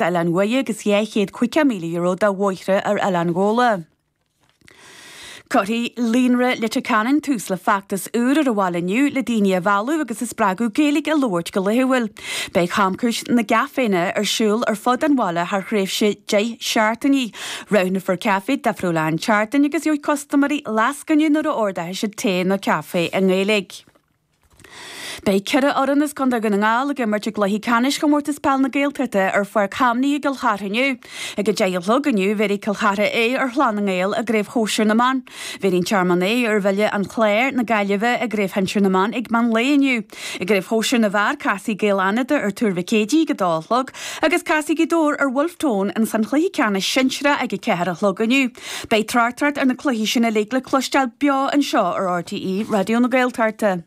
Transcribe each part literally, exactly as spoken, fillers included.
Oileán Mhuire agus dhá chéad caoga míle euro do bhóithre ar Oileán Ghabhla. Cuirfidh Líonra Leitir Ceanainn tús le feachtas úr ar an bhaile inniu le daoine a mhealladh agus a spreagadh Gaeilge a labhairt go laethúil. Beidh camchuairt na gcaiféanna ar siúl ar fud an bhaile thar thréimhse deich seachtainí. Roghnófar caife difriúil an tseachtain agus gheobhaidh custaiméirí lascaine nuair a ordóidh siad tae nó caife i nGaeilge. Beidh ceithre fhoireann as Contae Dhún na nGall ag imirt i gcluiche ceannais Chomórtas Peil na Gaeltachta ar Pháirc Chamnaí i gCill Chartha inniu. Ag a deich a chlog inniu bhéarfaidh Cill Chartha A ar Chlann na nGael i gCraobh Shóisir na mBan. Bhéarfaidh an Tearmann A ar Bhaile an Chláir na Gaillimhe i gCraobh Shinsir na mBan ag meán lae inniu. I gCraobh Shóisir na bhFear casfaidh Gaeil Fhánada ar Tuar Mhic Éadaigh ag a dó a chlog agus casfaidh Gaoth Dobhair ar Bhulf Tón ins an chluiche ceannais sinsearach ag a ceathair a chlog inniu. Beidh tráchtaireacht ar na cluichí sin uilig le cloisteáil beo anseo ar RTÉ Raidió na Gaeltachta.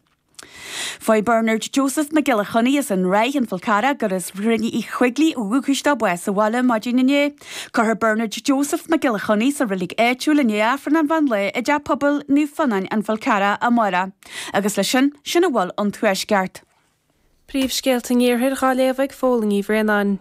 Fuair Bernard Joseph Mac Giolla Chainnigh as an Ráith an Fál Carrach gur as Rinn Uí Choigligh ó dhúchas dó bás sa bhaile maidin inné. Cuirfear Bernard Joseph Mac Giolla Chainnigh sa reilig áitiúil i ndiaidh Aifreann an mheán lae i dteach pobail Naomh Fionnáin an Fál Carrach amárach. Agus leis sin, sin a bhfuil ón Tuaisceart. Príomhscéalta an Iarthair á léamh ag Fódhla Ní Bhraonáin.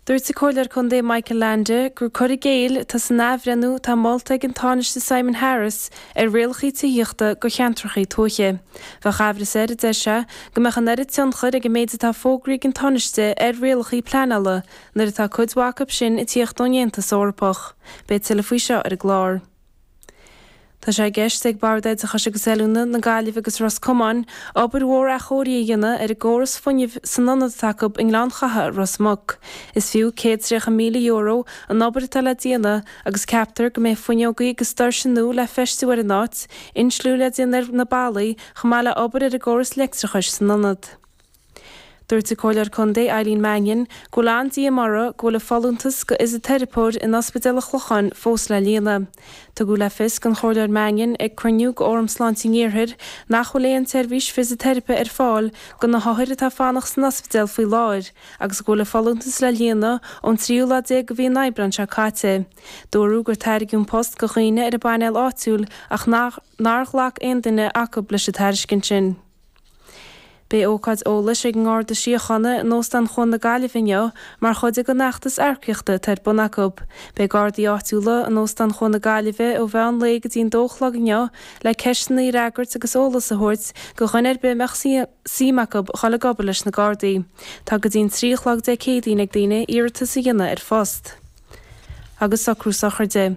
Dúirt an Comhairleoir Contae Michael Leainde gur cur i gcéill atá san athbhreithniú atá molta ag an Tánaiste Simon Harris ar rialacha tithíochta do cheantracha tuaithe. Bheadh amhras air, a deir sé, go mbeadh an oiread tionchair ag an méid atá fógraithe ag an Tánaiste ar rialacha pleanála nuair atá cuid mhaith acu sin ag tíocht ón Aontas Eorpach. Beidh tuilleadh faoi seo ar an gclár. Tá sé i gceist ag Bord Oideachais agus Oiliúna na Gaillimhe agus Ros Comáin obair mhór athchóirithe a dhéanamh ar an gcóras fuinnimh san ionad atá acu i nGleann Chatha, Ros Muc. Is fiú céad tríocha míle euro an obair atá le déanamh agus ceaptar go mbeidh fuinneogaí agus doirse nua le feistiú ar an áit, insliú le déanamh ar na ballaí chomh maith le obair ar an gcóras leictreachais san ionad. Dúirt an Comhairleoir Contae Eileen Mannion go bhfuil an-díomá uirthi go bhfuil a folúntas go fhisiteiripeoir in Ospidéal an Chlocháin fós le líonadh. Tugadh le fios don Chomhairleoir Mannion ag cruinniú de Fhóram Sláinte an Iarthair nach bhfuil aon tseirbhís fisiteiripe ar fáil do na hothair atá ag fanacht san ospidéal faoi láthair agus go bhfuil a folúntas le líonadh ón tríú lá déag de mhí an Aibreáin seo caite. Dúradh gur tairgeadh an post do dhaoine ar an bpainéal áitiúil ach nár ghlac aon duine acu leis an tairiscint sin. Beidh ócáid eolais ag an nGarda Síochána in Óstán Chuan na Gaillimhe inniu mar chuid den fheachtas earcaíochta atá ar bun acu. Beidh Gardaí áitiúla in Óstán Chuan na Gaillimhe ó mheán lae go dtí an dó a chlog inniu le ceisteanna a fhreagairt agus eolas a thabhairt do dhuine ar bith a mbeadh suim acu a dhul ag obair leis na Gardaí. Tá go dtí an trí a chlog Dé Céadaoin ag daoine iarratas a dhéanamh ar phost. Agus socrú sochraide.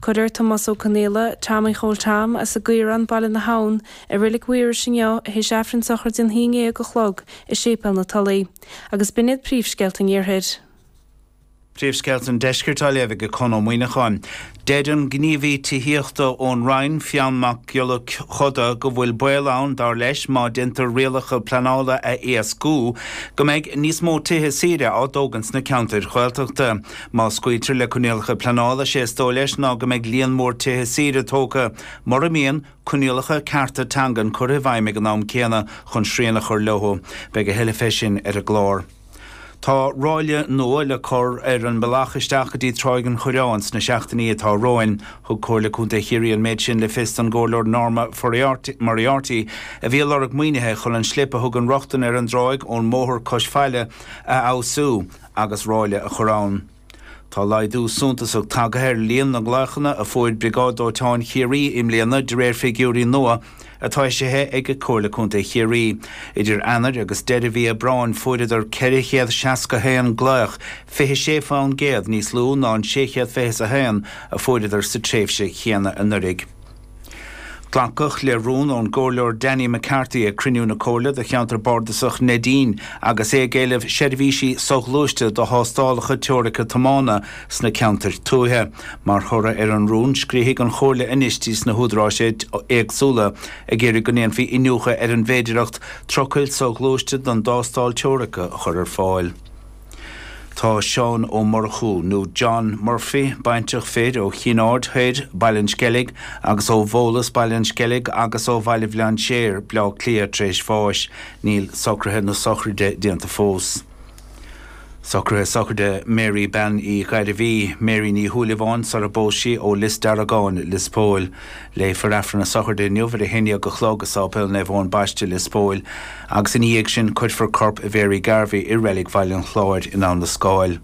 Cuirfear Tomás Ó Conaola, Tommy Chóil Tom, as an gCaorán, Baile na hAbhann, i Reilig Mhaorais inniu théis Aifreann sochraide an haon déag a chlog i Séipéal na Tulaí. Agus b'in iad príomhscéalta an Iarthair. Príomhscéalta an Deiscirt á léamh ag Conn Ó Muíneacháin. Deir an gníomhaí tithíochta ón Roinn, Fionn Mac Giolla Chuda, go bhfuil baol ann, dar leis, má déantar rialacha pleanála a éascú, go mbeidh níos mó tithe saoire á dtógaint sna ceantair Ghaeltachta. Má scaoiltear le coinníollacha pleanála, sé is dóigh leis ná go mbeidh líon mór tithe saoire tógtha, mura mbíonn coinníollacha cearta teangan curtha i bhfeidhm ag an am céanna chun srian a chur leo. Beidh a thuilleadh fé sin ar an gclár. Tá ráille nua le cur ar an mbealach isteach go dtí Tráigh an Choireáin sna seachtainí atá romhainn. Thug Comhairle Contae Chiarraí an méid sin le fios don gComhairleoir Norma Moriarty a bhí ag lorg maoinithe chun an slip a thugann rochtain ar an dtráigh ón mbóthar cois faille a fheabhsú agus ráille a chur ann. Tá laghdú suntasach tagtha ar líon na nglaochanna a fuair Briogáid Dóiteáin Chiarraí i mbliana de réir figiúirí nua atá eisithe ag Comhairle Contae Chiarraí. Idir Eanáir agus deireadh mhí Aibreáin fuaireadar ceithre chéad seasca haon glaoch, fiche sé faoin gcéad níos lú ná an sé chéad fiche a haon a fuaireadar sa tréimhse chéanna anuraidh. Glacadh le rún ón gComhairleoir Danny McCarthy ag cruinniú na Comhairle do cheantar bardasach Neidín agus é ag éileamh seirbhísí soghluaiste do thástálacha teoirice tiomána sna ceantair tuaithe. Mar thoradh ar an rún, scríobfaidh an Chomhairle anois dtí na húdaráis éagsúla ag iarraidh go ndéanfaí iniúchadh ar an bhféidearthacht trucail soghluaiste don dtástáil teoirice a chur ar fáil. Tá Seán Ó Murchú, nó John Murphy, baintreach fir ó Chinn Aird Thoir, Baile an Sceilg, agus ó Bhólas, Baile an Sceilg, agus ó Bhaile Bhlainséir, Bleá Cliath, tar éis bháis. Níl socruithe na sochraide déanta fós. Socruithe sochraide Mary Bean Uí Ghairbhí, Mary Ní Shúilleabháin, sara bpós sí ó Lios Deargáin, Lios Póil. Léifear Aifreann na sochraide inniu ar a haon déag a chlog i Sáipéal Naomh Eoin Baiste, Lios Póil, agus ina dhiaidh sin cuirfear corp Mhary Garvey i Reilig Bhaile an Chláir in Abha na Scáil.